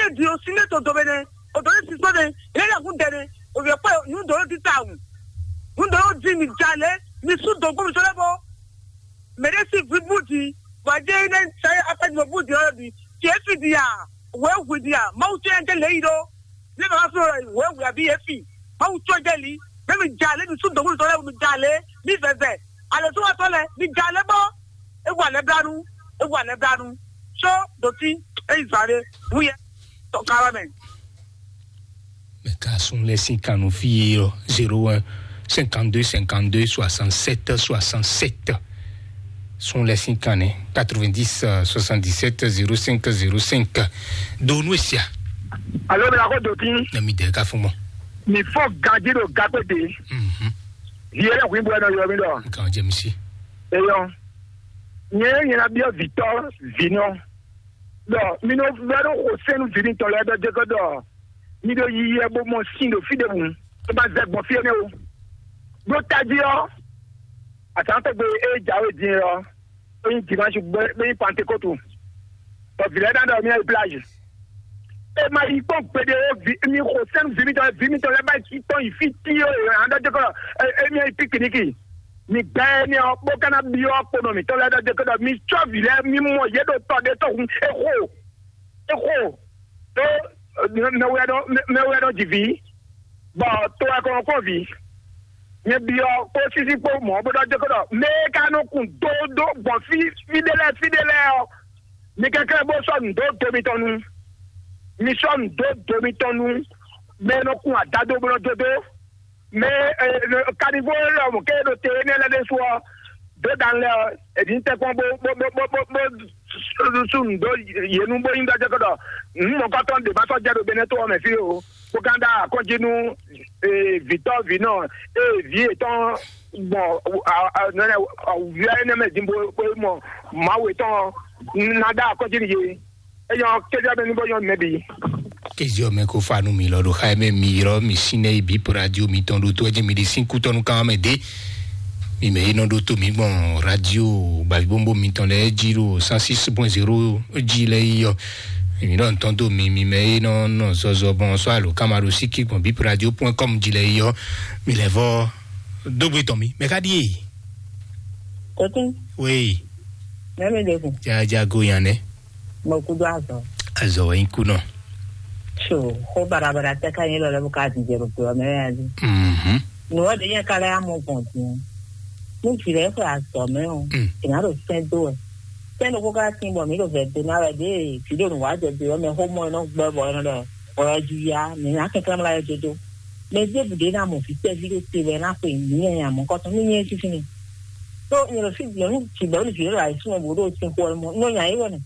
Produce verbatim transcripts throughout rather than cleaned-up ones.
Di o si ne to do bene, o do ne si so ne, ele na kun dene, o vye kwe nu do di ta un. Nu do di mi jale, mi su do ko mi so le bo. Mede si vi budi, wa je ne sa apa di budi o di. Ti e fi di a, we wi di a, ma u ti en de le yi do. Ne ma so we wi abi e fi. Ma u to de li, ne mi jale, mi su do ko mi so le, mi jale, mi veve. Ale so wa to le, mi jale bo. E wa le blanu, e wa le blanu. So do ti, e yi zare, wu ye. To kala me. Mɛ ka sun lɛ sín kan nú fí e ɔ́, zéro un cinquante-deux cinquante-deux soixante-sept soixante-sept. Sun lɛ sín kan nɛ quatre-vingt-dix soixante-dix-sept zéro cinq zéro cinq. Do nú esia. Alo, mi la ko do tin. Na mi dɛ ka fún mɔ. Mi fɔ gaji ɖo gakpé de. Mhm. Viɛ lɛ hu ibu ɛnɔ yɔ mi dɔ. Nkan jɛ mi si. Eyɔ. Nyɛ nyɛ na biɔ vitɔ vinɔ. Dɔ mi nɔ vɛ ɖo xo sɛnu vi mitɔn lɛ dɔ jɛ kɔ dɔ mi ɖo yiyi ɛ bo mɔ sin ɖo fí ɖěbǔ, é ma zɛ gbɔn fí énɛ́ o. Ɖó tají ɔ́, azǎn tɔgbe e jǎwe din ɔ́, é nyí dimanche, bó nyí pantekótu. Bɔ vǐ lɛ́ɛ ná ɖɔ mía yi plage. É ma yi kpɔ́n gbeɖé ó, mi xo sɛ́n vǐ mitɔn lɛ́ɛ, vǐ mitɔn lɛ́ɛ ba yi tɔn yi fí tíó e ǎ ɖɔ jɛ kɔ émí yi pikiniki. Mi gbɛ énɛ́ ɔ́, bó ka ná byɔ́ kponɔ mǐtɔn lɛ́ɛ ɖɔ jɛ kɔ ɖɔ mi cɔ́ vǐ lɛ́ɛ, mi mɔ yě ɖo tɔ ɖé tɔn hun é xo. É xo. Tó mɛ wɛ nɔ mɛ wɛ nɔ ji vǐ, bɔ to wɛ kɔn kpɔ́n vǐ. Nyɛ byɔ́ kpó sísí kpó mɔ̌ bó ɖɔ jɛ kɔ ɖɔ mɛ e ka nɔ kun dódó gbɔn fí fí ɖé lɛ́ɛ fí ɖé lɛ́ɛ ɔ́, mi kɛnklɛ́n bó sɔ́ nǔ dó do mitɔn nu. Mi sɔ́ nǔ dó do mitɔn nu. Mɛ e nɔ kun adado bó nɔ dó dó. Mɛ e kanivó lɛ mɔ ké ɖo te énɛ́ lɛ́ɛ ɖésú ɔ́, dó dan lɛ ɔ́, è nǐ tɛ́nkpɔ́n bó bó bó bó bó bó sú nǔ dó yě nu bó nyí ɖɔ jɛ kɔ ɖɔ nǔ mɔ̌kɔtɔn ɖě ma sɔ́ jɛ ɖo Benɛ́to ɔ́ mɛ fí o. Bó ka ɖó akɔ́njí nú vǐtɔ́ vǐnɔ e vǐ yětɔn gbɔn awǔvia énɛ́ mɛ din bó bó mɔ Mawu yětɔn ná ɖó akɔ́njí nú yě. Eyɔ kéjɔ bɛ ní bó nyɔ́ mɛ bǐ. Kéjɔ mɛ kó fa nú mi lɔ ɖo xa mɛ mi ylɔ́ mi sín nɛ yi bǐ po radio mitɔn ɖo tó ɛ jí mi ɖi sín kútɔ́nú kan mɛ dé. Mi mɛ yi nɔ ɖó tó mi gbɔn radio gbavǐbombo mitɔn lɛ́ɛ jí ɖo cent six point zéro jí lɛ́ɛ yi ɔ. Mi ɖɔ ntɔn dó mi mi mɛ yi nɔ nɔ zɔzɔ gbɔn sɔ alo kama ɖo síkí gbɔn bíp radio point com jí lɛ́ɛ yi ɔ. Mi lɛ vɔ dógbe tɔn mi mɛ ká ɖíe. Kɔtún. Wéyi. Mɛ mi ɖe kun. Jaja go yan nɛ. Mo kudo azɔ. Azɔ wɛ nyi kunɔ. So, xó barabara tɛ ka nyí lɔ lɛ bó ka dìde ɖo kplɔ mɛ ya dzi. Mhm. Nǔ ɔ́ ɖě nyɛ ka lɛ́ amɔ gbɔn din. Ní vǐ lɛ́ɛ xwe azɔ mɛ ɔ́, Mm. È nǎ ɖo sɛ́n dó wɛ. Sɛ́n ɖokpó ka tín bɔ mǐ ɖo vɛ̌ dó ná wɛ ɖěe vǐ ɖo nǔ wa jɛ do ɔ́ mɛ xó mɔ ɛ nɔ gbɔ bɔ ɛ nɔ ɖɔ ɔyɔ jí ya, mǐ ná kɛnklɛ́n mlá ɛ dodo. Mɛ ɖěbǔ ɖé ná mɔ vǐ tɛ́ví ɖé te wɛ ná xwe mǐ nyanya mɔ̌kɔtɔn ní nyɛ sísí ni. Tó nyɛ ɖo fí nyɔ̌nu tǐgbɔ ní vǐ ɖé ɖo ayǐsúnmɔ bó ɖo sin xo ɛ mɔ, nɔ nya é wɛ nɛ.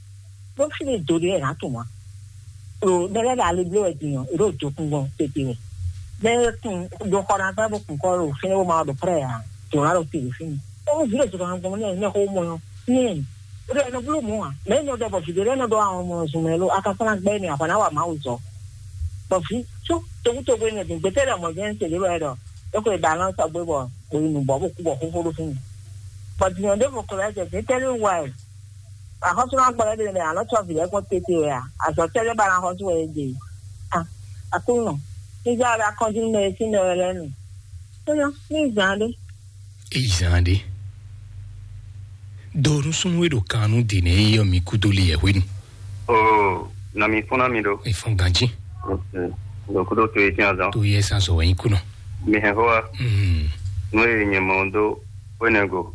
Ɖó fí ɖé do ɖé wɛ nǎ tunwun ǎ. Ɖo mɛ lɛ́ɛ ɖo ali bló wɛ din ɔ́, è ɖo dǒkun gbɔn tete wɛ. Mɛ e kun ɖo xɔ ná gbá bó kun kɔ ɖo fínɛ́ bó ma wá ɖo prɛ́ ǎ, jǒ ná ɖo te ɖo fínɛ́. Ó vǐ ɖo zɔn gbɔn nɛ nɛ xó mɔ ɔ́, nyɛ ó ɖo ɛnɔ bló mɔ̌ ǎ. Mɛ énɛ́ ɖɔ bɔ vǐ ɖé lɛ́ɛ nɔ ɖɔ àwọn ọmọ zun mɛ lo, a ka sɔ́ ná gbɛ́ nɛ a hwɛ ná wa Mawu zɔ. Bɔ vǐ sú tokutoku énɛ́ din gbɛtɛ́ ɖɔ mɔ̌ jɛ́n se ɖé wɛ ɖɔ é xwe ba nɔ sɔgbe bɔ bó yi nǔ bɔ bó kú bɔ xóxó ɖó fínɛ́. Bɔ din ɔ́ ɖěvo ko lɛ́ jɛ din tɛ́ lé wa ɛ. Axɔ́súnágbɔ́lɛ́ ɖé lɛ́ɛ alɔ tsɔ vǐ lɛ́ɛ kpɔ́n tete wɛ a? Azɔ̌ tɛ́ lɛ́ɛ ba ná xɔ́sú wɛ é ɖe? A, Aklúnɔ, ní zá wɛ akɔ́njí nú mɛ e sín mɛ wɛ lɛ́ɛ nu. Tóyɔ, ní zǎn ɖé. Eyi zan ɖe. Do nusúnú e ɖo kan nú dǐnɛ e yɔ mi kúdó li yɛ hwenu. Oo, nɔ mi fún ná mi ɖo. Efɔn ganji. Ɖo kúdó to e tinya zan. To yɛ san sɔ wɛ nyi kunɔ. Mi hɛn xó wa. Mm. Nú e nyɛ mɔ dó wénɛgo.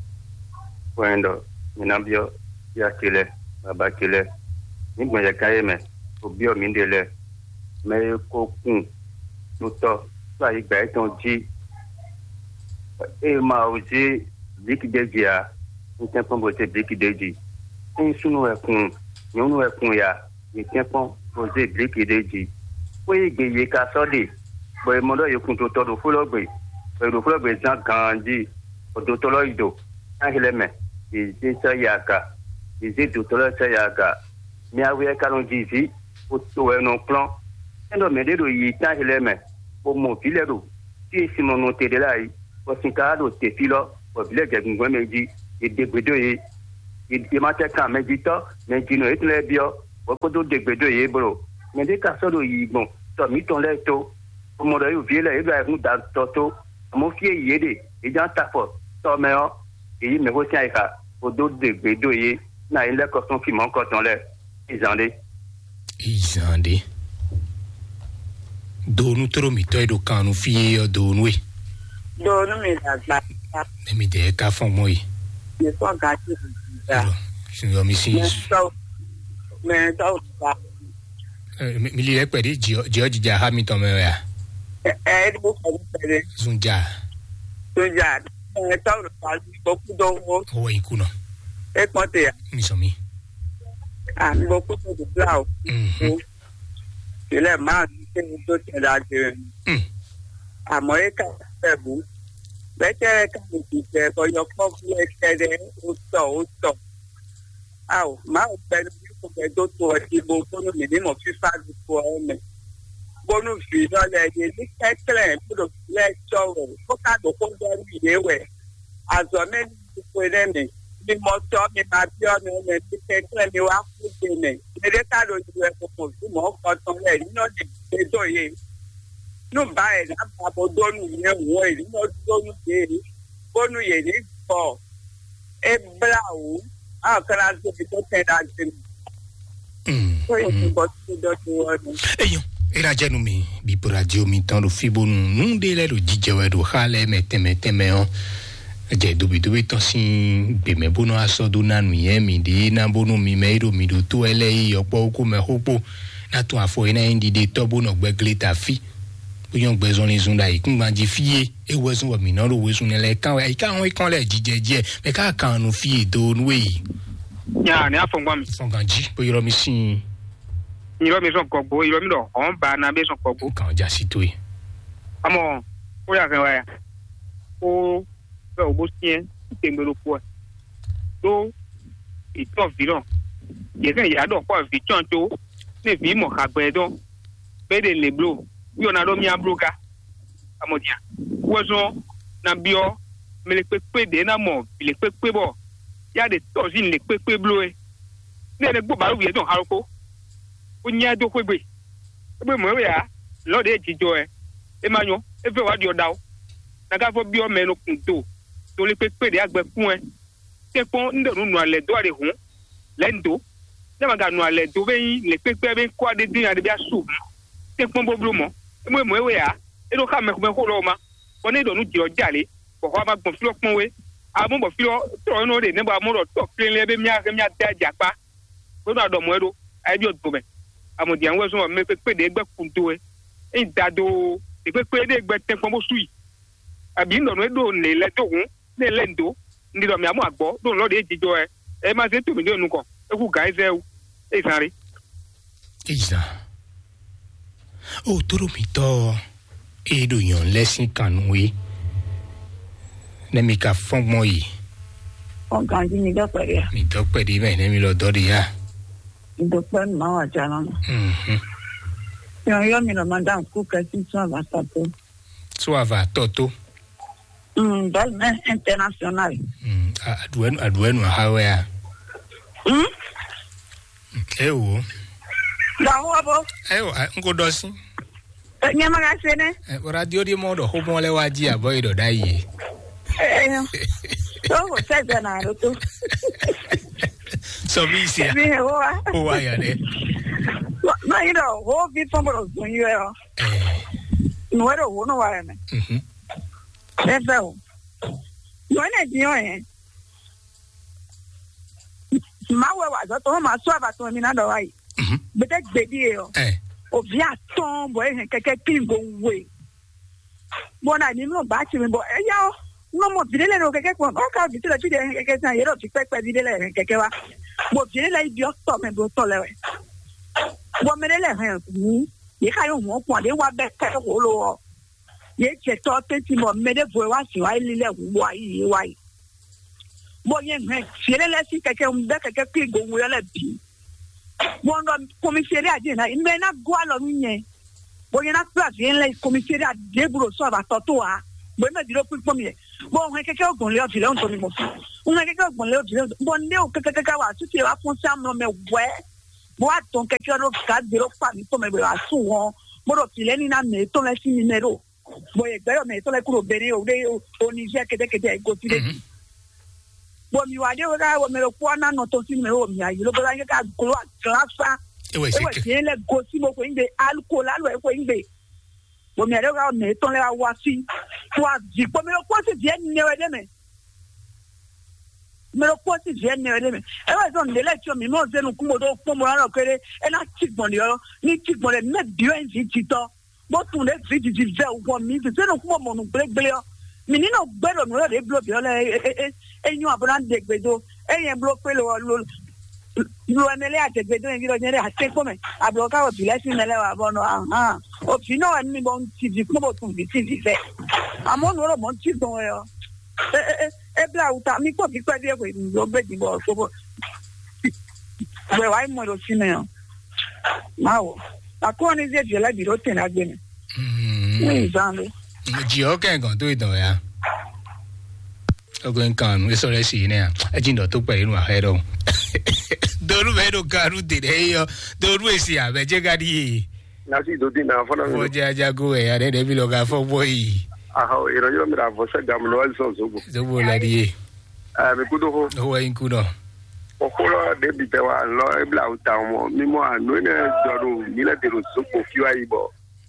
Wɛn ɖɔ mi ná byɔ́ ya ce lɛ, baba ce lɛ. Mi gbɔn yɛ kan ye mɛ, o byɔ́ mi ɖe lɛ. Mɛ e ko kun nutɔ tó ayǐgba yětɔn jí. Ée ma o zé bliki ɖé jí ǎ, un tɛ́nkpɔ́n bó zé bliki ɖé jí. Ényí súnnu wɛ kun, nyɔ̌nu wɛ kun ya, mi tɛ́nkpɔ́n bó zé bliki ɖé jí. Xwé e gbe yě ka sɔ́ ɖe, bɔ è mɔ ɖɔ yě kun dotɔ ɖo xwé lɔ gbe, bɔ è ɖo xwé lɔ gbe zán ganjí, bɔ dotɔ lɔ yi do, ná hɛn lɛ́ mɛ, yě zé sɔ́ yi aga, yě zé dotɔ lɔ sɔ́ yi aga. Mi awe ka nɔ ji vǐ, bó to wɛ nɔ kplɔ́n. É ɖɔ mɛɖé ɖo yiyi tán he lɛ́ɛ mɛ, bó mɔ vǐ lɛ́ɛ ɖo fí e sin mɔ nɔ te ɖe lɛ́ɛ ǎ é, bɔ sin ka ɖo te fí lɔ, bɔ vǐ lɛ́ɛ jɛ gungbɛ́ mɛ jí, è ɖe gbe dó yě. È ma tɛ kan mɛjitɔ́, mɛjinɔ yětɔn lɛ́ɛ byɔ́, bɔ é kó dó ɖe gbe dó yě blo. Mɛ ɖé ka sɔ́ ɖo yiyi gbɔn tɔ mǐtɔn lɛ́ɛ tó, bó mɔ ɖɔ yě ɖo vǐ lɛ́ɛ yě ɖo ayǐhún da tɔ tó, amɔ̌ fí e yě ɖe yě ján ta afɔ tɔ mɛ ɔ́, yě yí mɛ̌xwé sín ayixa bó dó ɖe gbě dó yě ná yě lɛ́ kɔ sɔ́n fí mɔ̌kɔtɔn lɛ́ɛ. Izan ɖé. Izan ɖé. Donu tló mǐtɔn e ɖo kan nu fí é ɔ́, donu e. Donu mi dàgbà. Nɛmi dɛ ka fɔn gbɔn yi. Mi fɔn gati da. Suyɔ mi si. Mɛ tɔw mɛ tɔw da. Mi li lɛ kpɛɖi jɔ jija ha mi tɔn mɛ wɛ a? Ɛ ɛ ɖo kɔ mi pɛɖe. Zunja. Zunja. Mɛ tɔw da. Gbɔkú dɔwɔ. Owó ikú nɔ. E kpɔn te ya. Mi sɔn mi. Ah, gbɔkú dɔwɔ bla o. Mhm. Ilé máa ń ṣe ní tó tẹ̀ dáadé rẹ̀. Mm. Àmọ́ é kà fẹ́ bú. Bẹ́tẹ́ ká mi dìgbẹ́ bɔ yɔkpɔ́vú ẹ kɛɖɛ ó tɔ ó tɔ. Ao, Mawu gbɛnu ní kò gbɛ dó to ɔtí bó bónú mǐ ní mɔ fífá ɖokpó ɔ́ mɛ. Bónú vǐ nɔ lɛ yě ní kɛnklɛ́n bó ɖo vǐ lɛ́ɛ cɔ́ wɛ, bó ka ɖo xó ɖɔ nú yě wɛ. Azɔ̌ mɛ ní xwe nɛ́ mɛ. Mi mɔ tɔ́, mi ma byɔ́ mɛ mɛ, mi kɛnklɛ́n mi wá kú gbe mɛ. Mɛ ɖé ka ɖo yi wɛ bó mɔ vǐ mɔ̌ kɔtɔn lɛ́ɛ, ní nɔ ɖi gbe dó yě. Nú ba è nǎ ba bó dó nú yě hǔn è ní nɔ dó nú yě, bónú yě ní gbɔ. É blá wǔ, á ɔ́ ka ná zé mi dó tɛn ɖagbe mɛ. Mm, Tó yě mm. Bɔ tó dɔ tó wɔ nú. Eyɔn, é ná jɛ nú mi, bíbo radio mi tɔn ɖo fí bónú nú ɖé lɛ́ɛ ɖo jijɛ wɛ ɖo xá lɛ́ɛ mɛ tɛnmɛ tɛnmɛ ɔ́. Jɛ dobidobi tɔn sín gběmɛ bó nɔ asɔ dó ná nǔnywɛ́ mi ɖě ná bónú mi mɛ e ɖo mi ɖo tó wɛ lɛ́ɛ yi yɔkpɔ́ wú kó mɛ xó kpó ná tún afɔ e ná nyí ɖiɖe tɔ́ bó nɔ gbɛglé ta fí. Bó nyɔ́ gbɛ zɔnlin zun ɖo ayǐkúngban jí fí é. É wɛ zɔ́n bɔ mǐ nɔ ɖo wezun nɛ lɛ́ɛ kán wɛ. Ayǐká hɔn é kán lɛ́ɛ jijɛ jɛ mɛ ká kan nu fí e do nú e yi. Ya ní afɔngban mi. Fɔngán jí bó ylɔ́ mi sín. Ylɔ́ mi sɔn gɔgbo, ylɔ́ mi ɖɔ hɔn ba na bɛ sɔn gɔgbo. Kan ja si to ye. Amɔ, ó yà hɛn wá ya. Ó bɛ wò bó syɛn tɛngbɛ ɖokpó ɛ. Ɖó ìtɔ́ vǐ nɔ. Yě hɛn yǎ ɖɔ xɔ vǐ tɔn tó. Ní vǐ mɔ hagbɛ dɔn. Bɛ ɖe lě bló. Yɔ na ɖɔ mía bló ká. Amɔdia, wɛzɔn na byɔ mɛ le kpekpe ɖe na mɔ vǐ le kpekpe bɔ ya ɖe tɔzin le kpekpe bló e. Ne ɖe gbó balu wǐyɛ dɔn halokó, ó nyá dó xwégbe. É bó mɔ̌ wɛ ǎ, lɔ̌ ɖě jijɔ wɛ, é ma nyɔ́, é vɛ́ wǎ ɖyɔ ɖawo. Na ka vɔ byɔ mɛ e nɔ kun do, do le kpekpe ɖě agbɛ kún wɛ. Tɛ́nkpɔ́n un ɖɔ nǔ nɔ alɛ dó aɖe hǔn, lɛ̌ un dó. Né ma ka nɔ alɛ dó bɛ nyí lě kpékpé bɛ kó aɖé dín aɖé bɛ asu hǔn, tɛ́nkpɔ́n bó bló mɔ̌. É mɔ é mɔ é wɛ ǎ. É ɖó xá mɛxó mɛxó lɔ́ ma, bɔ ní é ɖɔ nǔ jǐ ɔ́ jalě, bɔ xɔ ma gbɔn fí ɔ́ kpɔ́n wé. Amɔ̌ bɔ fí ɔ́ tlɔ nɔ ɖe nɛ̌ bɔ amɔ̌ ɖɔ tɔ́ klénlé bɛ mía hɛn mía dɛ jɛ akpá. Bó nɔ aɖɔ mɔ̌ é ɖó, ayé byɔ́ do mɛ. Amɔ̌dián wɛ zɔ́n mɛ kpékpé ɖě gbɛ́ kun dó wɛ. Ényí da dó ɖě kpékpé ɖé gbɛ́ tɛ́nkpɔ́n bó sú i. Abǐ un ɖɔ nǔ e ɖo nǔ e lɛ́ dó hǔn, nú è lɛ́ nǔ dó, un ɖi ɖɔ mǐ mɔ agbɔ̌ ɖo nǔ lɔ ɖě jijɔ wɛ. Ɛ ma zé to mǐ ɖo nukɔn, é hú gǎn Ezɛ́ɛ wú, é zán ɖé. Ezan. O tóɖó mǐtɔn ɔ́, é ɖo nyɔ̌nu lɛ́ɛ sín kan nú é. Nɛ́ mi ka fɔ́n gbɔn yi? Ɔ ganji mi dɔ kpɛɖe a? Mi dɔ kpɛɖe mɛ, nɛ́ mi lɔ dɔ ɖe ya? Mi dɔ kpɛ nu ma wa jala ma. Mhm. Yɔ yɔ mi nɔ ma da ku kɛ si sɔn va sa to. Sɔ ava tɔ tó. Mm, belle mère internationale. Mm, a- aɖuɛnu aɖuɛnu aha wɛ a? Mm? Ewo. Dɔwɔ bo. Ewo, a- n ko dɔ si. Nyɛ ma ka se ne. Eh, radio di mɔ dɔ xomɔ lɛ wa di abɔ yi dɔ da yi. Eh, to ko sɛ jɛ na do to. Sɔ mi si a? Mi he wo wa. O wa ya dɛ. Ma yi dɔ ho vi fɔn bo dɔ zun yi wɛ o. Eh. Nu wɛ do ho no wa yɛ mɛ. Mhm. Ɛ fɛ o. Nu wɛ ne di yɔ yɛ. Mawu wɛ wa azɔ̌ tɔn ma sɔ́ abatɔn mi ná ɖɔ wá yi. Mhm. Gbede gbedi e ɔ. Ɛ. Ovi atɔn bɔ e hɛn kɛkɛ kpin go we. Bɔ na ni mlɔ ba ti mi bɔ eya ɔ. Nɔ mɔ vi ɖe lɛ ɖo kɛkɛ kpɔn ɔ ka vi ti lɛ fi ɖe hɛn kɛkɛ san yɛ ɖɔ vi kpɛkpɛ vi ɖe lɛ hɛn kɛkɛ wa. Bɔ vi ɖe lɛ yi biɔ tɔ mɛ blo tɔ lɛ wɛ. Bɔ mɛ ɖe lɛ hɛn hu. Yɛ ka yɔ hɔn kpɔn ɖe wa bɛ kɛ wolo ɔ. Yɛ jɛ tɔ tɛnti bɔ mɛ ɖe vo wa si wa yi lɛ hu wa yi wa yi. Bɔ nyɛ hɛn fiele lɛ si kɛkɛ un bɛ kɛkɛ kpi go wuyɔ lɛ bi. Bɔ un ɖɔ komiseri adi na mɛ na go alɔ nu nyɛ. Bɔ nyɛ na kpla vie lɛ komiseri adi bu ɖo sɔ abatɔ to a. Bɔ mɛ di ɖo kpikpɔn mi yɛ. Bɔ un hɛn kɛkɛ o gbɔn le ɔ vi lɛ un tɔ mi mɔ fi. Un hɛn kɛkɛ o gbɔn le ɔ vi lɛ un tɔ. Bɔ ne o kɛkɛ kɛkɛ wa susu yɛ wa fɔn si amlɔ mɛ wɛ. Bó wá dɔn kɛkɛ ɖó gǎgbé ɖó kpa mǐtɔn mɛ bɔ è wǎ sú hɔn, bó ɖo vǐ lɛ́ɛ ní ná mɛ yětɔn lɛ́ɛ sín nimɛ́ ɖo. Bɔ yě gbɛ́ ɖɔ mɛ yětɔn lɛ́ɛ kú ɖo Benɛ́ o ɖé o Niger kɛtɛkɛtɛ e gosí ɖé. Bɔ mǐ wá ɖe wɛ ká wɛ mɛ ɖokpó wá ná nɔ tɔn sín nimɛ́ o mǐ ayǐ ló bó ná nyɛ ká gló aglafá. Ewɛ É wɛ seke. Vǐ lɛ́ɛ gosí bó xweyígbe alukol alo é xweyígbe. Bɔ mǐ ɖe wá mɛ tɔn lɛ́ɛ wá wá fí. Wá vǐ kpó mɛ ɖokpó sín vǐ ɛnɛ wɛ ɖé mɛ. Mɛ ɖokpó sín vǐ ɛnɛ wɛ ɖé mɛ. É wɛ zɔn nǔɖé lɛ́ɛ cyɔ mǐ mɔ zé nukún bó ɖó kpɔ́n bó ná ɖɔ kéré. É ná cí gbɔn ɖě ɔ́, ní cí gbɔn ɖě mɛ bǐ wɛ nyí vǐ jǐtɔ́. Bó tunwun ɖě vǐ jiji vɛ wɔ mǐ zé nukún bó mɔ nǔ gblégblé ɔ́. Mǐ ní nɔ gbé ɖo nǔ e ɖě bló bǐ ɔ́ lɛ́ɛ é é é nyɔ́ abo ná ɖe gbe dó. É nyɛ bló kpé lo lo lo ɛmɛ lɛ́ɛ adegbe dó nyɛ ví ɖɔ nyɛ ɖe atɛ́nkpɔ́n mɛ. Ablɔ ká wɔ vǐ lɛ́ɛ sín mɛ lɛ́ɛ wà bɔ nɔ ahan. O vǐ nɔ wɛ nú mi bɔ un ti vǐ kpɔ́n bɔ tun vǐ sín vǐ fɛ. Àmọ́ nǔ ɖɔ mɔ̌ cí gbɔn wɛ ɔ́. É é é é blá awu ta mi kpɔ́ vǐ kpɛví e hwe nǔ ɖó gbé din bɔ kpó bɔ wɛ wá yi mɔ ɖo fínɛ́ ɔ́. Mawu. Akɔ́ ní zé vǐ lɛ́ɛ bǐ ɖó tɛn ná gbé mɛ. Ní ìzán ló. Jì ɔ́ kɛ gɔn tó ìdán ya. Ogo nkan nu esɔ lɛ si nɛ a. Edzi nɔ tó kpɛ yinu ahɛ ɖɔ. Donu bɛ ɖo garu de ɖe yɔ. Donu esi abɛ dze ga ɖi ye. Nasi do di na fɔlɔ mi. Fɔ dza dza go wɛ ya ɖe ɖe bi lɔ ga fɔ bɔ yi. Ahɔ, ìrọ̀lẹ́ mi ra vɔ sẹ́ gàmù lọ́wọ́ sọ zogbo. Zogbo la ɖi ye. Ẹ mi kú dó hó. Owó yin kú nɔ. Kókó lọ débi tẹ wa lọ ebla awu ta mɔ mímọ ànú ẹnẹ jọ ɖo mí lẹ dèrò zogbo fí wa yi bɔ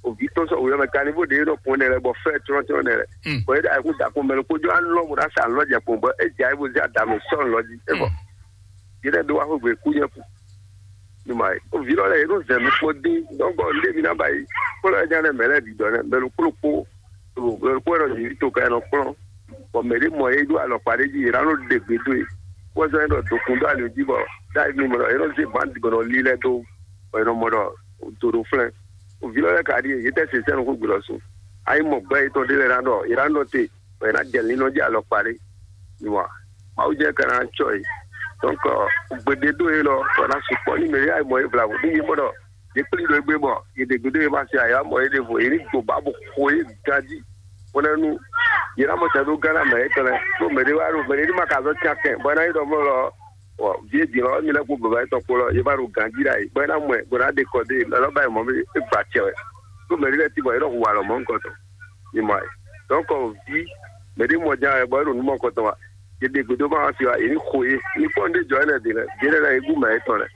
òbí tó sọ wòye mɛ kanivo ɖe nɔ kun ɛnɛ lɛ bɔ fɛ trɔn trɔn ɛnɛ lɛ. Bɔn e ɖe ayikun da kun mɛ lɛ kpójú alɔ mo ɖa sa alɔ jɛ kpɔn bɔ e dza ebo zɛ adame sɔn lɔ jí e bɔ yi ɖe do wa xogbe kú nyɛ ku. Numa yi o vi lɔ lɛ yi ɖo zɛ mi kpɔn dín dɔnkɔ ndé mi na ba yi kpɔlɔ ɛdza nɛ mɛ lɛ ɖiɖɔ nɛ mɛ lɛ kpó kpó kpó ɛnɔ yǐ to ka ɛnɔ kplɔ́n. Bɔ mɛ ɖé mɔ é ɖó alɔkpa ɖé jí yě ná nɔ ɖe gbe dó e. Kpɔ́zɔ́n é ɖɔ dokun dó ali jí bɔ ɖ'ayǐ mi mɔ ɖɔ é nɔ zé bǎn gɔnɔ lílɛ́ dó bɔ é nɔ mɔ ɖɔ do ɖo flɛ́n. Vǐ lɔ lɛ́ɛ ka ɖíe, yě tɛ́ se sɛ́n nukún gbe lɔ su. Ayi mɔ gbɛ́ yětɔn ɖé lɛ́ɛ ná ɖɔ yě ná nɔ te bɔ yě ná jɛ linɔ jí alɔkpa ɖé. Numa Mawu jɛ ka ná cɔ yě. Donc gbeɖé dó é lɔ bɔ ná sukpɔ́ ní mɛ yá mɔ é vlavo ní yě mɔ ɖɔ yě kplí ɖo égbé bɔ yě ɖě gúdo yě ma se ayǎ mɔ yě ɖěvo yě ní gbo ba bó xo yě ganjí. Bó ná nú yě ná mɔ tɛn ɖó gánà mɛ yětɔn lɛ́ɛ ɖó mɛ ɖé wá ɖo mɛ ɖé ní ma ka zɔ́ can kɛn bɔ é ná nyí ɖɔ mɔ lɔ ɔ vǐ e din lɔ mi lɛ́ kpó baba yětɔn kpó lɔ yě ba ɖo ganjí ɖ'ayǐ bɔ é ná mɔ ɛ bó ná ɖe kɔ dó yě lɔ ba yi mɔ é gba acɛ wɛ ɖó mɛ ɖé lɛ́ɛ tín bɔ yě nɔ hu alɔ mɔ̌hunkɔtɔn. Mi mɔ ɛ donc ví mɛ ɖé mɔ ján wɛ bɔ é ɖo nǔ mɔkɔtɔn wa yě ɖe gbeɖé ma wá fi wa yě ní xo yé ní kpɔ́n ɖé jɔ énɛ́ ɖe lɛ ɖě lɛ lɛ yě gún mɛ yětɔn lɛ.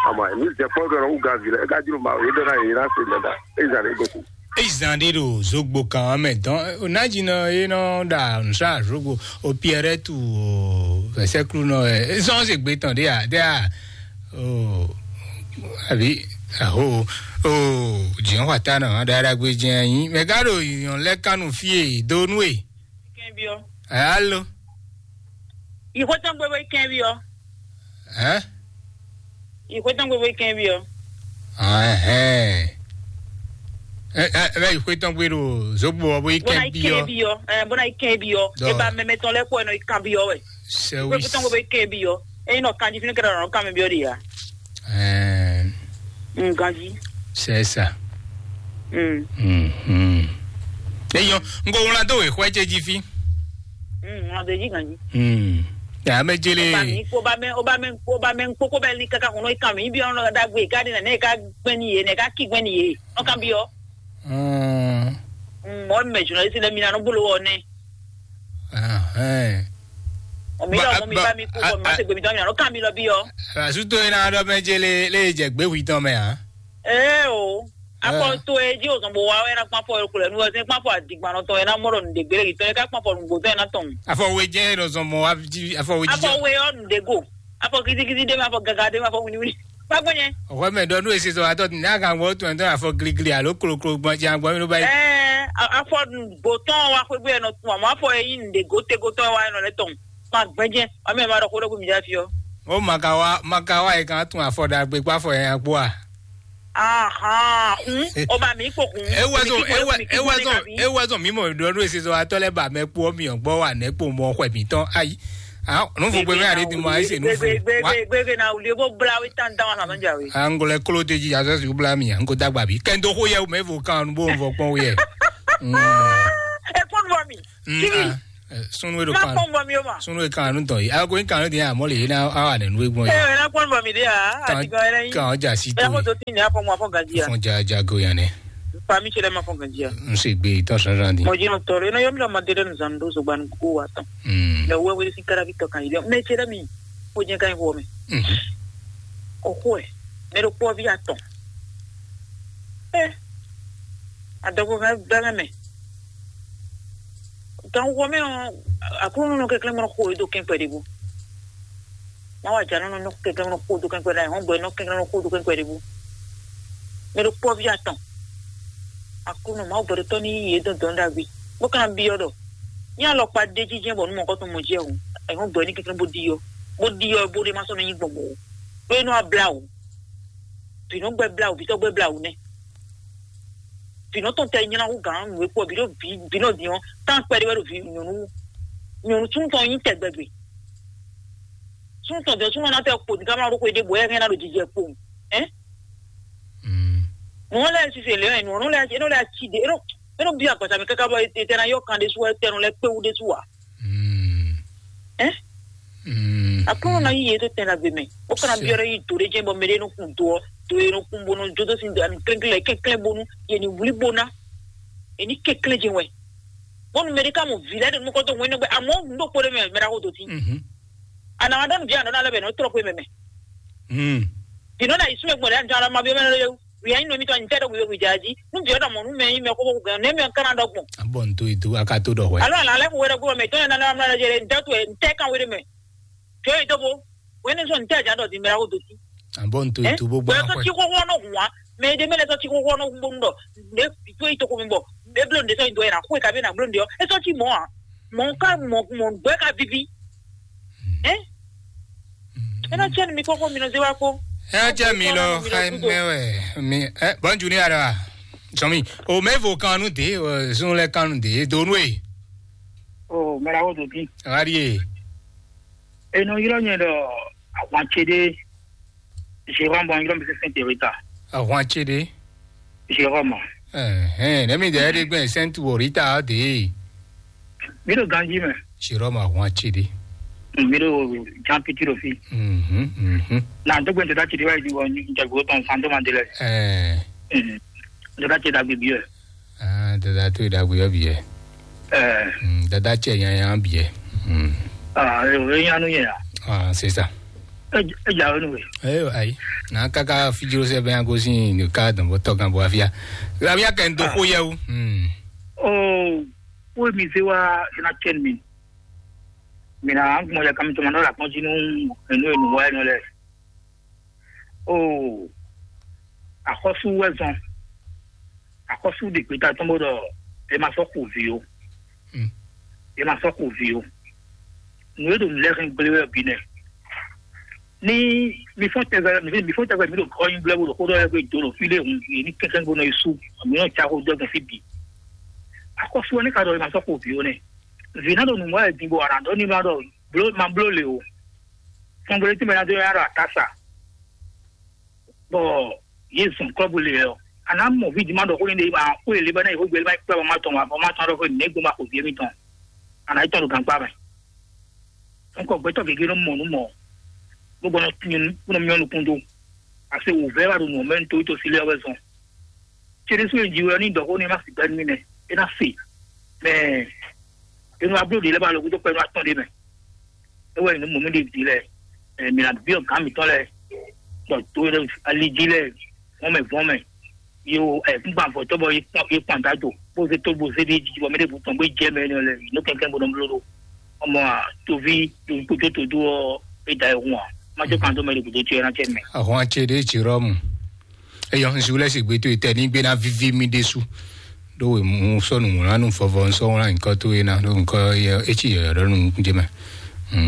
Àmọ́ ní zɛ kpɔ́n ɖɔ wú gan vǐ lɛ é ka jló ma yě ɖɔ ná yě ná se mɛ ɖa é zan ɖé gosín. Eyi zan ɖé ɖo zogbo kan ɔ́ mɛ dɔn onájínɔ é nɔ ɖa nǔsá zogbo o piɛrɛtu o vɛsɛklunɔ ɛ zɔn se gbe tɔn ɖé a ɖé a o àbí aho o jìnwá ta nɔ ɖaɖagbe jɛ anyi mɛ gá ɖo yɔn lɛ kanu fie donu e. Kɛn biɔ. Alo. Ìkótó gbogbo kɛn biɔ. Ɛ? Ìkótó gbogbo kɛn biɔ. Ɛhɛn. Ɛ ɛ ɛ bɛ ìkótó gbé ɖo zogbo ɔ bó yi Bó na kɛn yi biɔ. Kɛn biɔ. Ɛ bó na yi kɛn biɔ. Dɔ. Eba mɛmɛ tɔn lɛ kɔ ɛ nɔ yi kan biɔ wɛ. Sɛwis. Ìkótó gbogbo kɛn biɔ. Eyi nɔ kanji fínú kɛrɛ nɔ kan mi biɔ de ya. Ɛɛ. Mm, ganji. C'est ça. Mm. Mhm. Eyɔ, n ko wlan dó wěxwɛ ce jí fí. Mm, wlan dó jí ganji. Mm. Ya mɛ jele. Oba mi, oba mɛ, oba mɛ, oba mɛ kpókó bɛ ní kaka kɔnɔ ikan mi bi ɔnɔ dagbe ká di nɛ ká gbɛn ni ye nɛ ká kí gbɛn ni ye. Ɔn kan bi ɔ. Mm. Mm, mɔ mɛ journaliste lɛ mi na nɔ bolo wɔ nɛ. Ahɛn. Ɔmi lɔ mɔ mi ba mi kó bɔ mi ma se gbe mi tɔ mi na nɔ kan mi lɔ bi ɔ. Asuto yìí náà dɔ mɛ jele lè jẹ gbé hui tɔn mɛ a. Ee o. Afɔ to e dzi o zɔn bo wa wɛ na kpɔn afɔ yɔrɔ kulɛ nu ɔsɛ kpɔn afɔ adigbannɔ tɔn yɛ na mɔ ɖɔ nu de gbére yitɔ yɛ ka kpɔn afɔ nugbo tɔn yɛ na tɔn. Afɔ we jɛ ɖɔ zɔn mɔ wa dzi afɔ we jijɛ. Afɔ we yɔ nu de go. Afɔ kitikiti de ma afɔ gaga de ma afɔ winiwini. Kpakpɔ nyɛ. Ɔwɔ mɛ dɔ nu esi sɔ atɔ n'a kan wɔ tɔn tɔn afɔ giligili alo kolokolo gbɔn jan gbɔn mi ló ba yi. Ɛɛ afɔ nugbo tɔn wa xwegbe yɛ nɔ tun amɔ afɔ yɛ yi nu de go tego tɔn wa yɛ nɔ lɛ tɔn. Ma gbɛjɛ ɔmɛ ma ɖɔ xo ɖo gu mi dza fi ɔ. O makawa makawa yi kan tun afɔ ɖagbe kpɔ afɔ yɛ ya kpɔ a. Ahan hun o ma mi kpokun. Ewɛzɔn ewɛzɔn ewɛzɔn mi mɔ ɖɔ ɖo esi sɔ atɔ lɛ ba mɛ kpɔ mi ɔ gbɔ wa nɛ kpɔ mɔ xɔ mi tɔn ayi. Ah, nu fo gbe mɛ ale di mɔ ayi se nu fo. Gbegbe na wuli bo bla wi tan dan wa ma ja wi. Angolɛ kolo de ji azɔ si bla mi ango dagba bi kɛndo ko yɛ o mɛ fo kan nu bo n fɔ kpɔn wi yɛ. E kɔn bɔ mi. Kiri. Sunu e ɖo má kan kpɔn bɔ mi o ma. Sunu e kan nu tɔn yi. Ago in kan nu tɔn yi, amɔ le yina awa ne nu egbon yi. Ɛ na kpɔn bɔ mi de a. Kan ati gan yɛrɛ yi. Kan ja si to. Ɛ ko to ti ne afɔ mo afɔ gaji a. Fɔn ja ja go yan ne. Fa mi chere ma fɔ gaji a. N se gbe tɔ san san di. Mo ji no tɔrɔ ina yɔ mi la ma de den zan do so gban ko wa tɔn. Mm. Ne wo wo si kara bi tɔ kan yi. Me chere mi. Ko je kan wo me. Mhm. O ko e. Me ro ko vi atɔn. Ɛ. Adɔgo ga ga me. Gan wɔ mɛ ɔ, Aklúnɔ nɔ kɛnklɛ́n nɔ xo e dó kɛnkwɛ ɖěbǔ. Má wa jǎ nɔ nɔ kɛnklɛ́n nɔ xo dó kɛnkwɛ ɖa, hɔn gbɛ nɔ kɛnklɛ́n nɔ xo dó kɛnkwɛ ɖěbǔ. Mɛ ɖo kpɔ́ví atɔn. Aklúnɔ Mawu gbɛɖotɔ́ ní yí yě dɔn dɔn ɖagbe. Bó ka ná byɔ́ ɖɔ: "Nyí alɔkpa ɖé jínjɛ́n bɔ nú mɔ̌kɔtɔn mɔ jɛ hǔn, ɛhɔn gbɛ ní kɛnklɛ́n bó ɖi ɔ́, bó ɖi ɔ́ bó ɖé má sɔ́ nɔ nyí gbɔn mɔ̌ ó. Ɖó é nɔ wá blá wǔ. Vǐ nɔ gbɛ blá wǔ, vǐ tɔ́ gbɛ blá wǔ nɛ́." Vǐnɔ tɔn tɛ nylá hú gǎn nǔ e kpɔ vǐ ɖo vǐ vǐnɔ din ɔ́, tán kpɛɖé wɛ ɖo vǐ nyɔ̌nu nyɔ̌nu súnnu tɔn nyí tɛgbɛgbe. Súnnu tɔn jɔ súnnu ɔ́ ná tɛ kpo dín ká má ɖó xwé ɖé bɔ é hɛn ná ɖo jijɛ kpowun. Ɛ? Nǔ ɔ́ lɛ́ɛ sise lě ɔ́, nǔ ɔ́ nɔ lɛ́ɛ é nɔ lɛ́ɛ aci ɖé é nɔ é nɔ byɔ́ agbasa mɛ káká bɔ é tɛ ná yɔ kan ɖésú wɛ tɛnu lɛ́ɛ kpé wú ɖésú ǎ. Ɛ? Aklúnɔ ná yí yě dó tɛn ɖagbe mɛ, bó ka ná byɔ́ ɖɔ yí dǒ ɖé jɛ́n bɔ mɛ ɖé nɔ kun do ɔ́, do e nɔ kun bó nɔ jó dó sin dó ani klɛ́nklɛ́n kɛnklɛ́n bónú yě ní wlí bó ná, yě ní kɛnklɛ́n jɛ́n wɛ. Bónú mɛ ɖé ka mɔ vǐ lɛ́ɛ ɖo nukɔn tó ŋwɛ́ nɔ gbɛ amɔ̌ nǔ ɖokpó ɖé mɛ mɛ ɖaxó dó tín. Anǎ wa ɖɔ nǔ ví anɔ̌ ná lɛ́ bɛ nɔ́ tlɔ́ xwé mɛ mɛ. Vǐnɔ ná yi súnmɛ gbɔn ɖě anjɔ alɔ ma byɔ́ mɛ lɔ yɛwu. Wǐ anyi nɔ mitɔn nyi tɛ ɖo wǐwɛ wǐ ja jí. Nú byɔ́ ɖɔ mɔ̌ nú mɛ nyí mɛ xóxó gɛn nɛ́ mɛ ka ná ɖɔ gbɔn. A bɔ n to yi do a ka to ɖɔ hwɛ. Alo ala lɛ xo wɛ ɖɔ gbɔ mɛ tɔn yɛ nana mla jɛ ntɛ to ntɛ kan wɛ ɖe mɛ. Jɔ yi to bo. Wɛ ne sɔ ntɛ ja ɖɔ di mɛ la ko do ti. A bɔ n to yi do bo gbɔ. Wɛ sɔ ti xóxó nɔ hun wa. Mɛ ɖe mɛ lɛ sɔ ti xóxó nɔ hun bonu ɖɔ. Ne to yi to ko mi bɔ. Ne blo nde sɔ yi do yɛ na xo ka be na blo nde ɔ. E sɔ ti mɔ a. Mɔ ka mɔ mɔ gbɛ ka vivi. Ɛ? Ena cɛ mi kɔkɔ mi nɔ ze wa ko. Ena cɛ mi lɔ xɛ mɛ wɛ mi ɛ bɔn juni ara sɔmi o mɛ vo kanu de o zun lɛ kanu de donu e. O mɛra wo do bi. Ari e. Eno yɔrɔ nyɛ dɔ awan ce de. Jérôme bɔn yɔrɔ mi se sɛn terita. Awan ce de. Jérôme. Ɛhɛn, ne mi dɛ de gbɛ sɛn tu orita de. Mi ɖo ganji mɛ. Sirɔ ma hɔn atsi ɖi. Mi ɖo jan piti ɖo fi. Mhm, mhm. Na dɔgbe ntɔda tsi ɖi wa yi wɔ ntɔgbe tɔn san do ma de lɛ. Ɛɛ. Ntɔda tsi ɖagbe bi yɛ. Ah, dada to ɖagbe yɔ bi yɛ. Ɛɛ. Mm, dada tsi nyanya bi yɛ. Mm. Ah, e nya nu yɛ ya. Ah, c'est ça. E e ja nu we. Ayo ayi. Na kaka fijiro sɛ bɛ agosin ka dɔn bɔ tɔgan bɔ afia. Rabia kɛ ndo ko yɛ o. Mm. Oh. Wo mi se wa ina cɛn mi. Mi na gbɔn ya kami tɔmɔ nɔ la kpɔn jí nu enu enu wa nɔ lɛ. O, axɔsu wɛ zɔn. Axɔsu de gbeta tɔn bo dɔ e ma sɔ ku vi o. E ma sɔ ku vi o. Nu e do nu lɛ hɛn gble wɛ bi nɛ. Ni mi fɔn tɛgbɛ mi mi fɔn tɛgbɛ mi ɖo kɔ nyi blɛ bo ɖo xó ɖɔ yɛ ko do ɖo fi ɖe hun yi ni kɛkɛ bo nɔ yi su mi nɔ tsa xó dɔ gbɔn fi bi. Akɔsu wɛ ne ka ɖɔ ma sɔ xo vi o nɛ. Vi na ɖo nǔ wɛ din bo ana ɖɔ ni ma ɖɔ blo ma blo le o. Fɔngbele tí mɛ na do ya ɖo atasa. Bɔ ye zɔn kɔbu le yɛ o. Ana mɔ vi di ma ɖɔ xó ni ɖe ma xó ele bɛ na yi xó gbele ma yi kpɛ bɔ ma tɔn wa bɔ ma tɔn ɖɔ xó ne gbɔn ma xo vi mi tɔn. Ana yi tɔn ɖo gankpa mɛ. Nkɔ gbɛtɔ gege nɔ mɔ nu mɔ. Bó gbɔdɔ nyɔnu kúnɔ miɔ nukún dó. Ase wò vɛ wà ɖo nù mɛ nítorí tó sílẹ̀ wɛ zɔn. Cédésù yẹn jí wɛ ní dɔ̀kó ní ma sì gbɛ nú mi nɛ. É ná se. Mɛ enu abló ɖe lɛ ba lɔ kútó pɛnu atɔn ɖe mɛ. É wɛ nu mɔ mi ɖe di lɛ. Ɛ mi na biɔ gán mi tɔn lɛ. Dɔ tó yɛ ali jí lɛ. Wɔn mɛ vɔn mɛ. Yo, ɛ kúkú àfọ̀tọ́ bɔ yé kpɔn yé kpɔn àdájò bó ṣe tó bó ṣe dé jíjí bɔ mí ɖé bùtɔ̀n gbé jẹ́ mɛ ní ọlẹ́ ló kẹ́kẹ́ gbọ́dọ̀ bló ɖó ọmọ àtòví kótó tó dó ọ́ é da ẹ̀hún à má tó kàn tó mɛ ɖé kótó tiẹ̀ ránṣẹ́ mẹ́. Ahɔn acé ɖé tsi rɔmu. Eyɔ ŋsu lɛ si gbé tó etɛ ní gbé ná víví mí ɖésú. Ɖó wè mú sɔ́ nǔwlánú vɔvɔ ŋsɔ́ wlán nyǐkɔ tó é ná ɖó ŋkɔ é tsi yɔyɔ ɖɔ nú nukún jɛ mɛ.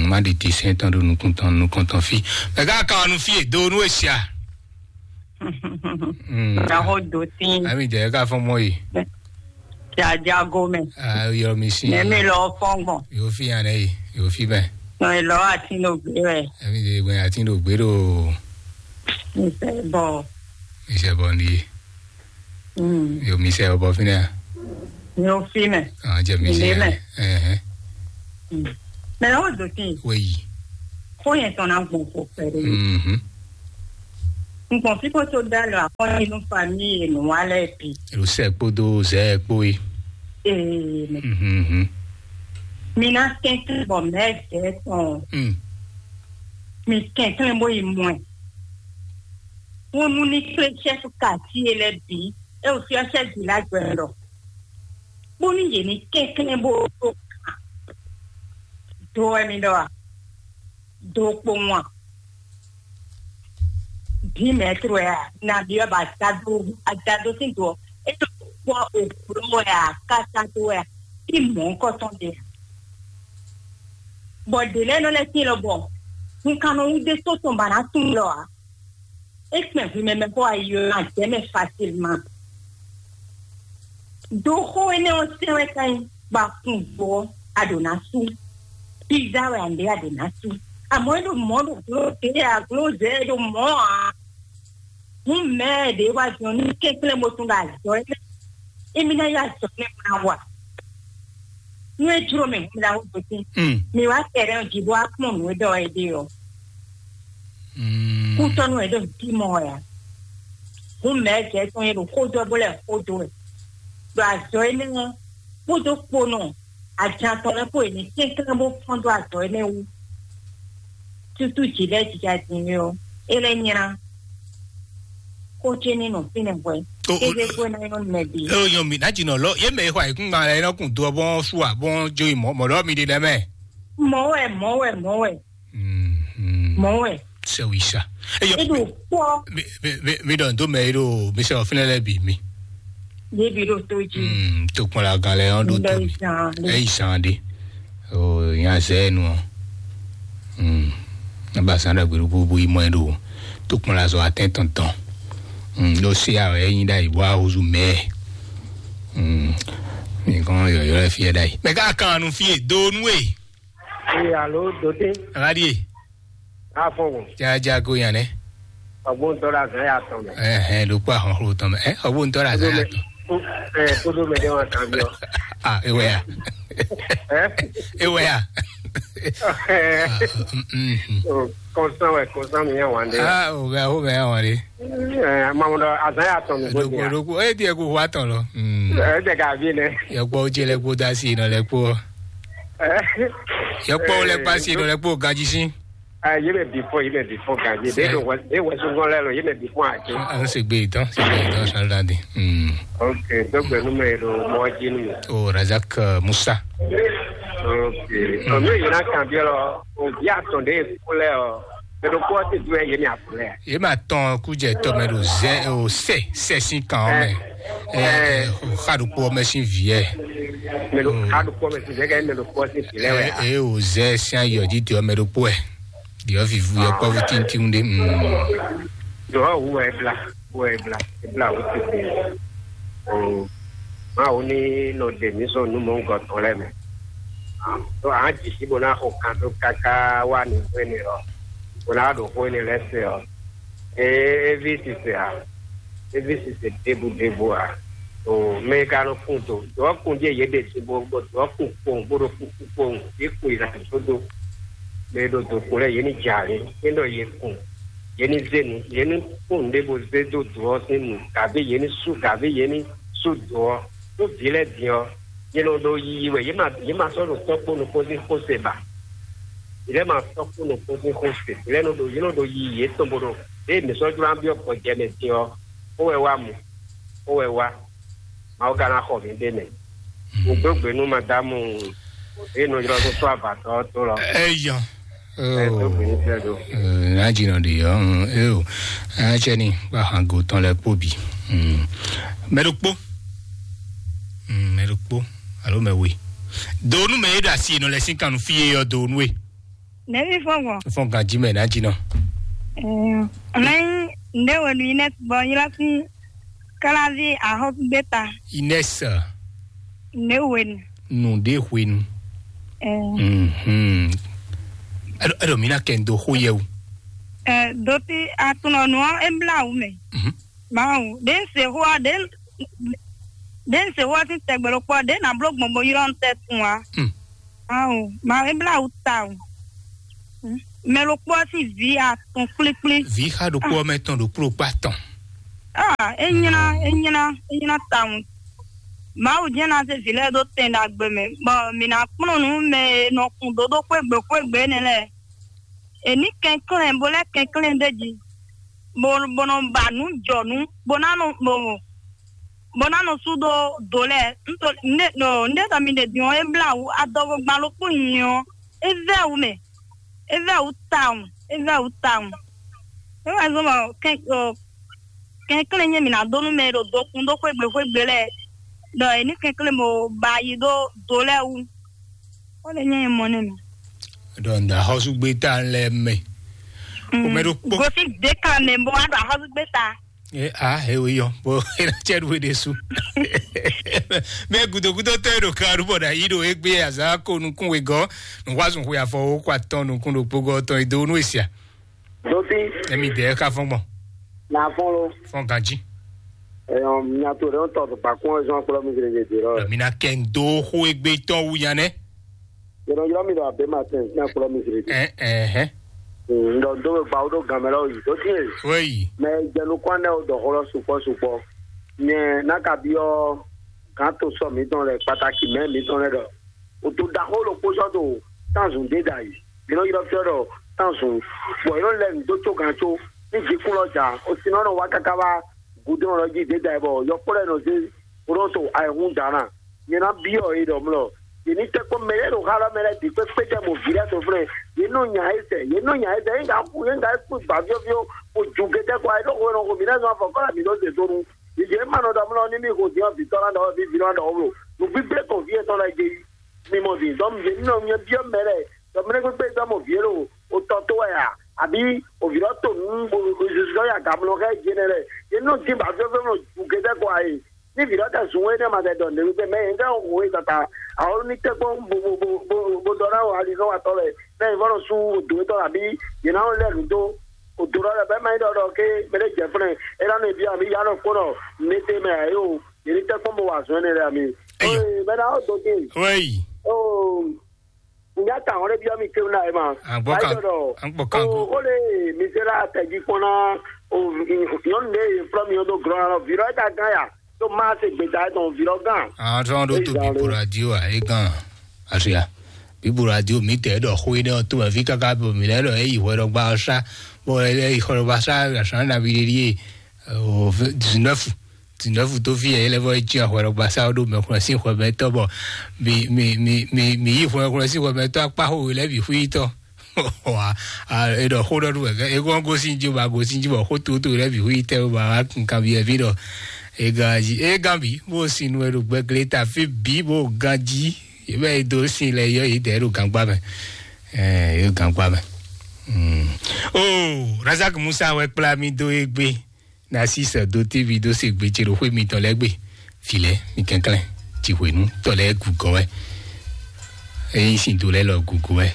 Má ɖi ti sɛn tɔn ɖó nukún tɔn nukɔn tɔn fí. Mɛ ká kan ɔnu fí è dó nú èsì à. Gaho dotin. Ami jɛ ka fɔn mɔ yi. Jaja gome. Ah, yɔ mi si. Ne mi lɔ fɔn gbɔn. Yo fi yan ne yi. Yo fi bɛ. No ilɔ ati no gbe wɛ. Ami de gbɛ ati no gbe do. Mi sɛ bɔ. Mi sɛ bɔ ndi. Mm. Yo mi sɛ bɔ fi ne. Yo fi mɛ. Ah, jɛ mi si. Ilé mɛ. Eh eh. Mɛ ɔ́ dó tín. Wéyi. Xó yẹn tɔn ná gbɔn xo kpɛɖé. Mhm. Ngbɔn fífó tó dá lɔ akɔ́nínú famíyi e nǔ wa lɛ́ɛ bǐ. Elo sɛ kpódó zɛ kpó yi. Ee, mɛ. Mhm. Mi ná kɛnklɛ́n bɔ mɛ zɛ tɔn. Mm. Mi kɛnklɛ́n bó yi mɔ ɛ. Wónú ní kplé chɛ́fu kati e lɛ́ɛ bǐ, é wǒ fyɔ́ chɛ́ vǐ lá gbɛ lɔ. Bónú yě ní kɛnklɛ́n bó ɖó kan do wɛ mi ɖɔ a? Do kpowun a? Vǐ mɛ̌tru wɛ a? Nabí wɛ ba dado adado sín do ɔ́? É ɖo kpɔ́ òbló wɛ a? Kásádo wɛ a? Í mɔ̌kɔtɔn ɖe a? Bɔ ɖě lɛ́ɛ nɔ lɛ́ tín lɔ bɔ hun kan nɔ wú ɖé tó tɔn ba ná tunwun lɔ a? É kpɛn hwi mɛ mɛ xó ayi ɔ́, a jɛ mɛ facilement. Do xó énɛ́ ɔ́ sɛn wɛ ká nyí, bɔ a kun vo ɔ́, a ɖǒ ná sú. Pizza wɛ a ɖě a ɖǒ ná sú. Àmọ́ é ɖo mɔ̌ ɖo gló ɖě a gló zɛ é ɖo mɔ̌ ǎ. Hǔn mɛ ɖě wá jɔ ní kɛnklɛ́n bó tún ɖo azɔ̌ énɛ́. Émí ná yá azɔ̌ énɛ́ bó ná wa. Nú é jló mɛ hǔn ná wú dó tín. Mm. Mi wá tɛɖɛ jí bó wá kpɔ́n nǔ e ɖɔ é ɖe ɔ́. Mm. Kútɔ́nú wɛ ɖo nǔ tí mɔ wɛ ǎ. Hǔn mɛ̌ jɛ tɔn e ɖo xó dó ɛ bó lɛ́ xó dó wɛ. Ɖo azɔ̌ énɛ́ ɔ́, kpódó kponɔ ajan tɔn lɛ́ɛ kpó e ní kɛnklɛ́n bó fɔ́n dó azɔ̌ énɛ́ wú. Tútú jǐ lɛ́ɛ jija din é ɔ́, é lɛ́ nylá. Xó ce ní nɔ fínɛ́ hwɛ. Ó, ó, é ɖe xó ná nyɔ́ nú mɛ bǐ. É nyɔ́ mi ná jǐnɔ lɔ yé mɛ e xɔ ayǐkúngban lɛ é nɔ kun do ɔ́ bɔn sú ǎ bɔn jó yi mɔ̌ mɔ̌ ɖɔ mi ɖe lɛ́ mɛ. Mɔ̌ wɛ, mɔ̌ wɛ, mɔ̌ wɛ. Mhm. Mɔ̌ wɛ. Sɛwisa. Eyɔ. Eɖo kpɔ. Mi mi mi mi ɖɔ ndo mɛ eɖo mi sɛ ɔfin lɛ bi mi. Yebi ɖo to dzi. Mm, to kpɔn la gan lɛ ɔn ɖo to mi. Eyi san ɖe. O nya zɛ nu ɔ. Mm. Ne ba san ɖe gbeɖu bubu yi mɔ ɖo. To kpɔn la zɔ atɛn tɔn tɔn. Mm, ɖo se a ɛ nyi ɖa yi bɔ ahozu mɛ. Mm. Mi kɔn yɔyɔ lɛ fi ɛ ɖa yi. Mɛ ka kan nu fi e do nu e. Ee, alo, Dote. Aladie. Afɔwɔ. Jaja ko yan ne. Ɔgbɔn tɔla zan ya tɔn mɛ. Eh eh, lo kwa hɔn hlo tɔn mɛ. Eh, ɔgbɔn tɔla zan ya tɔn. Eh, kodo mɛ de wa kan biɔ. Ah, ewe ya. Eh? Ewe ya. Eh. Ah, mm, mm, mm. Oh, constant, ouais, constant, mi yan wande. Ah, o ga o ga ya wande. Eh, mamu dɔ azan ya tɔn mi ko dia. Dogo dogo, e die ko wa tɔn lɔ. Mm. Eh, de ga bi ne. Yɔ kpɔ o je lɛ kpo da si nɔ lɛ kpo. Eh. Yɔ kpɔ o lɛ kpa si nɔ lɛ kpo gaji si. Ah, yé mɛ bifɔ, yé mɛ bifɔ gan yé. Sɛ. De do wɛ, de wɛ sungbɔn lɛ lɔ, yé mɛ bifɔ a ke. An se gbe tán, se gbe tán sɔrɔ la de. Hmm. Ok, dɔgbɛ nu mɛ do mɔ ji nu. O Razak, euh, Musa. Ok. Hmm. Ɔ mi yina kan bi lɔ, o bi atɔn de kulɛ ɔ. Mɛ do kɔ ti du yé mi akulɛ. Yé ma tɔn kujɛ tɔ mɛ do zɛ o sɛ sɛ sin kan mɛ. Ɛ, ɛ, o xa do kpɔ mɛ sin viɛ. Mɛ do xa do kpɔ mɛ sin viɛ kɛ mɛ do kpɔ sin viɛ wɛ. Ɛ, o zɛ sin ayɔ ji te ɔ mɛ do kpɔ ɛ. Ɖiɔ vivu yɔkpɔ́vú tíntín ɖé. Mm. Ɖɔ wú wɛ bla, wú wɛ bla, bla wú tete. O, Mawu ní nɔ ɖe mǐ sɔn nú mɔ̌hunkɔtɔn lɛ́ɛ mɛ. Ɖó a ji sí bó ná xo kan dó káká wá ní xwé ní ɔ́, bó ná ɖo xwé ní lɛ́ɛ se ɔ́, é é ví sise ǎ. É ví sise ɖěbǔ ɖěbǔ ǎ. O mɛ e ka nɔ kun do dɔ̌ kun ɖíe yě ɖe sin bó bó dɔ̌ kun kpowun bó ɖo kúkú kpowun yě kun yi na sódó. Mɛ e ɖo do kun lɛ́ɛ yě ní jɛ alě, é ɖɔ yě kun, yě ní zé nu, yě ní kpó nǔɖé bó zé dó do ɔ́ sín nu, gǎvé yě ní sú gǎvé yě ní sú do ɔ́. Ɖó vǐ lɛ́ɛ din ɔ́, yě nɔ ɖo yiyi wɛ, yě ma yě ma sɔ́ ɖo tɔ́ kpó nukpó sín xó se ba. Yě lɛ́ɛ ma tɔ́ kpó nukpó sín xó se, yě lɛ́ɛ nɔ ɖo yě nɔ ɖo yiyi yětɔn bó ɖo ɖěe mǐ sɔ́ jló ná byɔ́ gbɔjɛ mɛ din ɔ́, xó wɛ wá mu, xó wɛ wá. Mawu ka ná xɔ mǐ ɖe mɛ. Un dó gbe nú madamu e nɔ ylɔ́ dó sɔ́ avatɔ ɔ́ tó lɔ. Eyɔ. Ɛ dó gbe ní sɛ do. Ná dzi nɔ ɖi yɔ. Eo. Ɛ tsɛ ni kpa hango tɔn lɛ kpó bi. Mɛ ɖokpó. Mɛ ɖokpó alo mɛ we. Do nú mɛ e ɖo asi nɔ lɛ sín kan nú fí e yɔ do nú e. Nɛvi fɔn gbɔn. Fɔn ganji mɛ ná dzi nɔ. Ɛɛ, mɛ nde wenu yi nɛ bɔ yi lɔ si kalavi ahɔ gbeta. Ines. Ne wenu. Nu de hwenu. Ɛɛ. Mhm. Eɖo eɖo mi na kɛ ndo xo yɛ o. Ɛɛ, doti atunɔ nua embla wu mɛ. Mhm. Bawo de se hoa de de se hoa ti tɛgbɛ lo kpɔ de na blo gbɔn bo yɔrɔ tɛ tun wa. Hmm. Awo, ma e bla wú ta o. Mɛ ɖokpó ɔ́ sín vǐ atɔn kplíkplí. Vǐ xa ɖokpó ɔ́ mɛ tɔn ɖo kpló kpá tɔn. Ah, e nyina, e nyina, e nyina tawun. Mawu jɛ́n ná zé vǐ lɛ́ɛ ɖó tɛn ɖagbe mɛ, bɔ mǐ ná kplɔ́n nǔ mɛ e nɔ kun dó ɖó xwégbe xwégbe énɛ́ lɛ́ɛ. È ní kɛnklɛ́n, bó lɛ́ kɛnklɛ́n ɖ'é jí, bó bó nɔ ba nǔ jɔ nǔ, bó ná nɔ bó bó ná nɔ sú ɖó do lɛ́ɛ. Ńdé ɖɔ mi ɖe din ɔ́, é blá wǔ adɔgo gban ɖokpó nyi ɔ́, é vɛ́ wǔ mɛ, é vɛ́ wǔ tawun, é vɛ́ wǔ tawun. É wɛ zɔ́n bɔ kɛnklɛ́n nyɛ mǐ ná dó nú mɛ e ɖo dokun ɖó xwégbe xwégbe lɛ́ɛ, ɖɔ è ní kɛnklɛ́n bó ba yi ɖó do lɛ́ɛ wú. Ó lè nyɛ mɔ nɛ mɛ. Ɖɔ ŋda xɔsúgbéta lɛ mɛ. Xɔmɛ ɖokpó. Gosi deka mɛ bó wá ɖo axɔsúgbéta. E a e wo yɔ bó e na cɛ ɖu ɖe su. Mɛ gudogudo tɛ ɖo kan ɖu bɔ na yi ɖo egbe azan ko nukun wegɔ nukwasun xwe afɔ wo kó atɔn nukun ɖokpó gɔ tɔn edo nu esia. Doti. Emi dɛ ka fɔn gbɔn. Na fɔn lo. Fɔn ganji. Eyɔn miato ɖe tɔ bakun ɔzɔn kplɔ mi gele gele lɔ. Mi na kɛ ndo xo egbe tɔn wu yan nɛ. Yɔrɔ yɔrɔ mi ɖo abe ma tɛn na kplɔ mi gele. Ɛ ɛ hɛ. Ndɔ do be gbawo ɖo gamɛ lɔ yi doti. Wei. Mɛ jɛnu kwan nɛ o dɔ xɔ lɔ sukpɔ sukpɔ. Nyɛ na ka biɔ gan to sɔ mi tɔn lɛ pataki mɛ mi tɔn lɛ dɔ. O to ɖaxó ɖokpó sɔ́ ɖo tánzun ɖé ɖ'ayǐ. Mǐ nɔ ylɔ́ fyɔ́ ɖɔ tánzun, bɔ yě nɔ lɛ́ nǔ dó có gǎn có. Ní jǐkún lɔ ja, o sin nɔ nɔ wá káká wá gǔdo lɔ jí ɖě ɖ'ayǐ, bɔ yɔkpɔ́ lɛ́ɛ nɔ zé bó nɔ to ayǐhún dǎ ná. Nyɛ ná byɔ́ yě ɖɔ mlɔ. Yě ní tɛ́ kpɔ́n mɛ lɛ́ɛ ɖo xá lɔ mɛ lɛ́ɛ bǐ kpékpé jɛ mɔ vǐ lɛ́ɛ tɔn flɛ́. Yě nɔ nya yě zɛ, yě nɔ nya yě zɛ, yě ŋgǎ xú, yě ŋgǎ kú gbǎ fyɔ́fyɔ́, bó ju gétɛ́ kɔ ayǐ ɖó xo e nɔ xo mǐ lɛ́ɛ zɔn afɔ kɔ́ lɛ mǐ nɔ zě dó nú. Yě ma nɔ ɖɔ mlɔ ní mí xo din ɔ́ vǐ tɔn ná ɖɔ ví vǐ nɔ ɖɔ wó mlɔ. Nǔgbígbé tɔn vǐ yětɔn lɛ́ɛ jɛ yí. Mi mɔ din, dɔn yě nɔ nyɛ byɔ́ mɛ lɛ́ɛ, dɔ mɛ lɛ́ɛ kpékpé dɔn mɔ vǐ e ɖo o tɔ tó wɛ a, àbí o vǐ lɔ to nǔ bo zuzɔ ya gamlɔ xɛ jɛ nɛ lɛ. Yě nɔ dín ba fɛfɛ nɔ ju gédé kɔ ayi. Ní vǐ lɔ tɛ zun wé ne ma tɛ dɔ nǔ ɖé mɛ yě ŋgá ho e tata. Awɔ ní tɛ kpɔn bo bo bo bo bo dɔ ná o ali nɔ wa tɔ lɛ. Mɛ yě vɔ nɔ sú o dǒ tɔ àbí yě ná lɛ nǔ dó o dǒ lɔ lɛ bɛ ma yi ɖɔ ɖɔ ké mɛ ɖé jɛ fúnɛ. É ná nɔ byɔ́ àbí yá nɔ kpɔn nɔ mɛ tɛ mɛ ayi o. Yě ní tɛ kpɔn bo wa zɔn ne lɛ àmì. Eyo. Oye, mɛ ná o dó dé. Wéyi. Oh. Nya ta hɔn ɖe byɔ́ mi kéwú ná ɛ ma. Agbɔ kan, agbɔ kan go. O o le mi se la tɛji kpɔn na o nyɔnu ɖe ye flɔ mi o do glɔn na lɔ vi lɔ e ka gán ya to ma se gbeta etɔn vi lɔ gán. Àwọn tó ń do tó bíbo radio à é gán àṣeyà. Bíbo radio mi tẹ̀ ẹ́ dọ̀ xó iná tó mẹ́ fi káká bò mí lẹ́lọ́ ẹ yìí hwẹ́ lọ gbá ọ sá. Bó ẹ yìí hwẹ́ lọ gbá sá àṣà nàbí lè rí e o dix-neuf dix-neuf tó fi ẹ̀ lẹ́fọ́ ẹ jí àhwẹ́ lọ gbá sá ó dó mẹ́kúnlẹ̀ sí hwẹ́ mẹ́tọ́ bọ̀. Mi mi mi mi mi yìí hwẹ́ hwẹ́ sí hwẹ́ mẹ́tọ́ akpá hó lẹ́bí hu yìí tọ́. Wa, a, e ɖɔ xó ɖɔ ɖu wɛ, e kɔn gosin ji ba gosin ji bɔ xó to to lɛ bi hu yi tɛ ba wa kun kan bi ɛvi ɖɔ. E gan ji, e gan bi, bo sin nu e ɖo gbɛgle ta fi bi bo gan ji. E bɛ e do sin lɛ yɔ yi tɛ e ɖo gangba mɛ. Ɛ, e ɖo gangba mɛ. Mm. Oh, Razak Musa wɛ kpla mi do egbe. Narcisse do tévi dó se gbe ce ɖo xwé mitɔn lɛ́ɛ gbe. Vǐ lɛ́ɛ, mi kɛnklɛ́n, jǐ hwenu tɔ lɛ́ɛ gǔgɔ́ wɛ. Ényí sin do lɛ́ɛ lɔ gǔgɔ́ wɛ,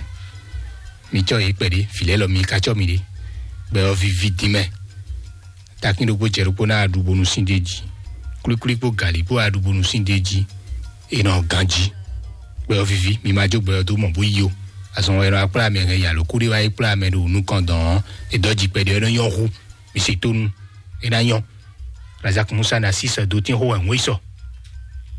mi cɔ́ yě kpɛɖé, vǐ lɛ́ɛ lɔ mi ka cɔ́ mi ɖé. Gbɛ ɔ́ viví dín mɛ. Takín ɖokpó jɛ ɖokpó ná aɖu bónú sín ɖé jí. Klíklí kpó gǎlí kpó aɖu bónú sín ɖé jí. È nɔ ganjí. Gbɛ ɔ́ viví, mi ma jó gbɛ ɔ́ dó mɔ bó yí o. Azɔn wɛ nɔ akplá mɛ hɛn yalo kúɖé wá yi kplá mɛ ɖo nukɔn dɔn ɔ́, è dɔ́ jí kpɛɖé ɔ́ nɔ nyɔ́ hú. Mi se tónú, é ná nyɔ́. Razak Musa na sísɔ dó tín xó wɛ wọ́n yi sɔ.